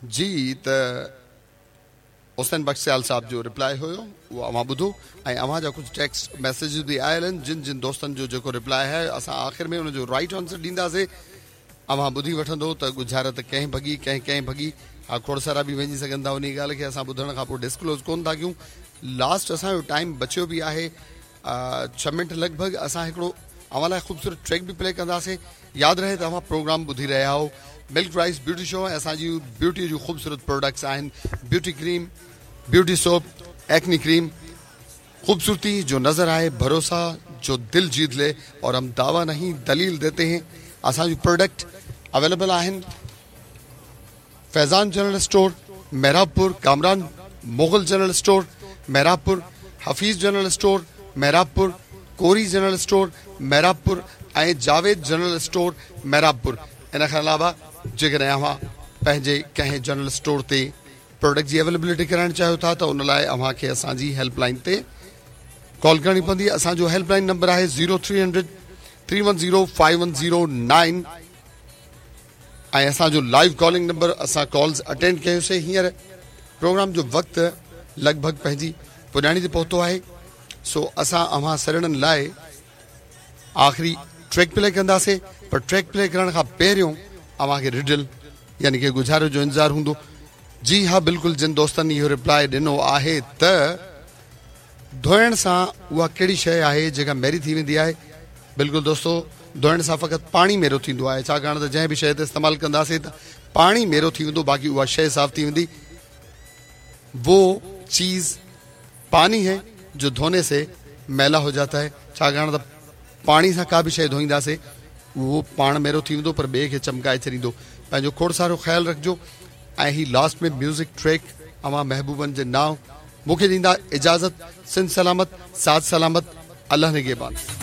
جي ته حسين بخش سيال صاحب جو رپلائي هيو اهو اوهان ٻڌو ۽ اوهان جا ڪجهه ٽيڪسٽ ميسيجز به آيل آهن جن جن دوستن جو جيڪو رپلائي آهي اسان آخر ۾ ان جو رائيٽ آنسر ڏينداسي اوهان ٻڌي وٺندو ته ڳجهارت ڪنهن ڀڳي ڪنهن ڪنهن ڀڳي ها کوڙ سارا به وڃي سگهن ٿا انهي ڳالهه کي اسان ٻڌڻ کان پوء ڊسڪلوز ڪون ٿا ڪيون لاسٽ اسان جو ٽائيم بچيو به آهي ڇهه منٽ لڳ ڀڳ اسان هڪڙو اوهان لاء خوبصورت ٽريڪ به پلي ڪنداسين ياد رهي ته اوهان پروگرام ٻڌي رهيا آهو ملڪ رائس بيوٽي شو ۽ اسان جي بيوٽي جون خوبصورت پروڊڪٽس آهن beauty cream beauty soap acne cream خوبصورتي جو نظر آئي ڀروسا جو دل جيت لي اور هم دعويٰ نهين دليل ديتي هين اسان جون پروڊڪٽ اويليبل آهن Faizan general store Mehrabpur Kamran Mughal general store Mehrabpur Hafeez general store Mehrabpur Kori general store Mehrabpur ۽ Javed general store Mehrabpur ان کان علاوه جيڪڏهن اوهان پنهنجي ڪنهن جنرل اسٽور تي پروڊڪٽ جي اويليبلٽي ڪرائڻ چاهيو ٿا ته ان لاء اوهان کي اسان جي هيلپ لائن تي ڪال ڪرڻي پوندي اسان جو هيلپ لائن نمبر آهي 0300 310 5109 ۽ اسان جو لائيو ڪالنگ نمبر اسان ڪالز اٽينڊ ڪيوسي هينئر پروگرام جو وقت لڳ ڀڳ پنهنجي پڄاڻي تي پهتو آهي سو اسان اوهان سڄڻن لاء آخري ٽريڪ پلي ڪنداسي پر ٽريڪ پلي ڪرڻ کان پهريون اوهان کي رڊل يعني ڪي ڳجهارو جو انتظار هوندو جي ها بلڪل جن دوستن اهو رپلائي ڏنو آهي ته ڌوئڻ سان اها ڪهڙي شيء آهي جيڪا ميري ٿي ويندي آهي؟ بلڪل دوستو ڌوئڻ سان فقط پاڻي ميرو ٿيندو آهي ڇاڪاڻ ته جنهن به شيء تي استعمال ڪنداسين ته پاڻي ميرو ٿي ويندو باقي اها شيء صاف ٿي ويندي وہ چيز پاني هي جو ڌوني سي ميلا هو جاتا هي ڇاڪاڻ ته پاڻي سان ڪا به شيء ڌوئينداسين اهو پاڻ ميرو ٿي ويندو پر ٻئي کي چمڪائي ڇڏيندو پنهنجو کوڙ سارو خيال رکجو ۽ هي لاسٽ ۾ ميوزڪ ٽريڪ اوهان محبوبن جي نانء مون کي ڏيندا اجازت سنڌ سلامت ساٿ سلامت الله نگهبان.